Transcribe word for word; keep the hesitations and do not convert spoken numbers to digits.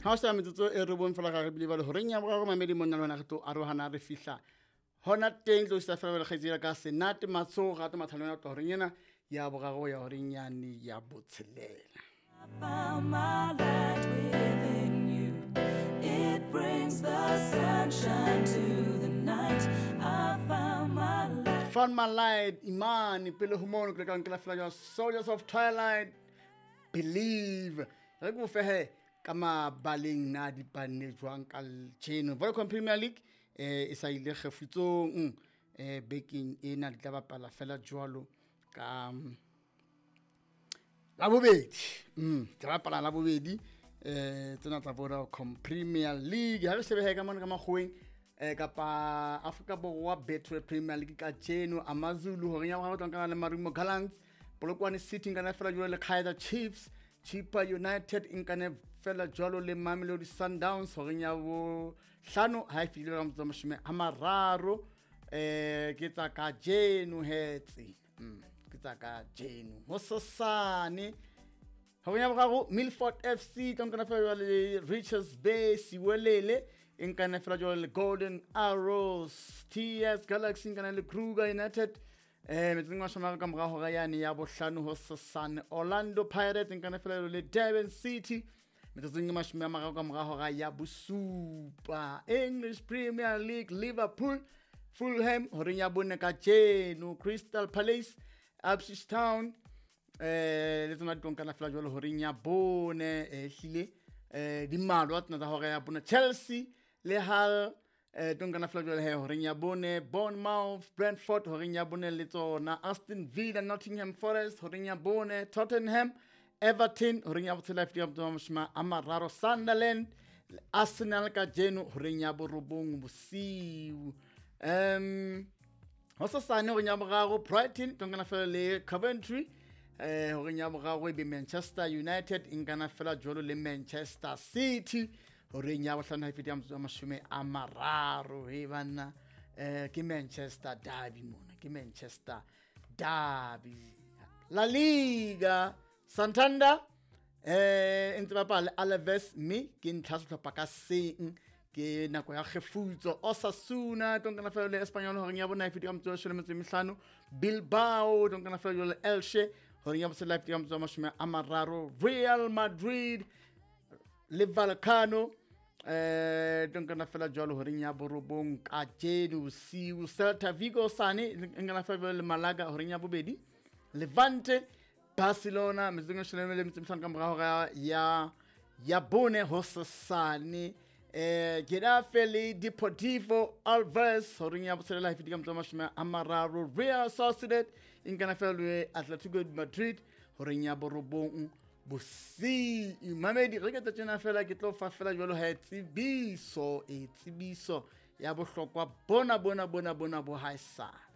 Ha o sa metsotso e robong fela ga re bile ba le horeng ya boraro mamedi monna le wena re tlo arohana re fihla hona teng tlo isa fela kgaitsedi ka Senate Matso gato mathalong ya horeng ena ya boraro ya horeng yane ya botshelela. I found my light within you. It brings the sunshine to the night. I found my light. Found my light Imani pele ho mono ke ka nkela fela jwa Soldiers of Twilight Believe. Re go fehe ka mabaleng na di panne jwang ka tjeno Vodacom Premier League eh e sa ile kgefutsong eh bekeng ena di tla bapala fela jwalo ka la bobedi mm tla bapala la bobedi eh tsena tsa Vodacom Premier League ha re shebe ka mona ka makgoweng eh kapa Afrika Borwa Betway Premier League ka tjeno AmaZulu hore ya ba tla le Marumo Gallants, Polokwane City nkana fela jwalo le Kaizer Chiefs, Chippa United nkane fela jwalo le Mamelodi Sundowns horeng ya bo hlano ha e fihlile ka motso mashome a mararo eh ke tsa ka jeno hetse mm ke tsa ka jeno ho sosane horeng ya boraro Milford F C tla nkana fela jwalo le Richards Bay Siwelele nkane fela jwalo le Golden Arrows, T S Galaxy nkane le Kruger United eh metseng wa shoma ka mora hora yane ya bohlano ho sosane Orlando Pirates nkane fela le Durban City metsotsong e mashome a mararo ka mora hora ya bosupa. English Premier League Liverpool Fulham horeng ya bone ka tjeno, Crystal Palace Ipswich Town eh le tsona di nkana fela jwalo horeng ya bone eh hlile eh di mmalwa tsena tsa hora ya bone Chelsea le Hull eh nkana fela jwalo he horeng ya bone Bournemouth Brentford horeng ya bone le tsona Aston Villa Nottingham Forest horeng ya bone Tottenham Everton horeng ya botshela ya mashome a mararo Sunderland Arsenal ka jeno horeng ya borobong bosiu um ho sosane horeng ya boraro Brighton nkana fela le Coventry eh horeng ya boraro e be Manchester United nkana fela jwalo le Manchester City horeng ya bohlano ha e feta ya mashome a mararo he banna eh ke Manchester derby mona ke Manchester derby. La Liga Santander eh ntse bapala Alaves mme ke ntlha sehlopha ka seng ke nako ya kgefutso Osasuna nkana fela le Espanyol horeng ya bona e feta ka motso wa metso e mehlano Bilbao nkana fela le Elche horeng ya botshelela e feta ka motso wa mashome a mararo Real Madrid le Vallecano eh nkana fela jwalo horeng ya borobong ka jeno bosiu Celta Vigo sane nkana fela le Malaga horeng ya bobedi Levante Barcelona metsotsong e leshome le metso e mehlano ka mora hora ya ya bone ho sosane eh Getafe le Deportivo Alves horeng ya botshelela e feta ka motso wa mashome a mararo Real Sociedad nkana fela le Atletico Madrid horeng ya borobong bosiu. Mamedi re ke tjena fela ke tlo fa fela jwalo ha tsebiso e tsebiso ya bohlokwa bona bona bona bona bo haesale.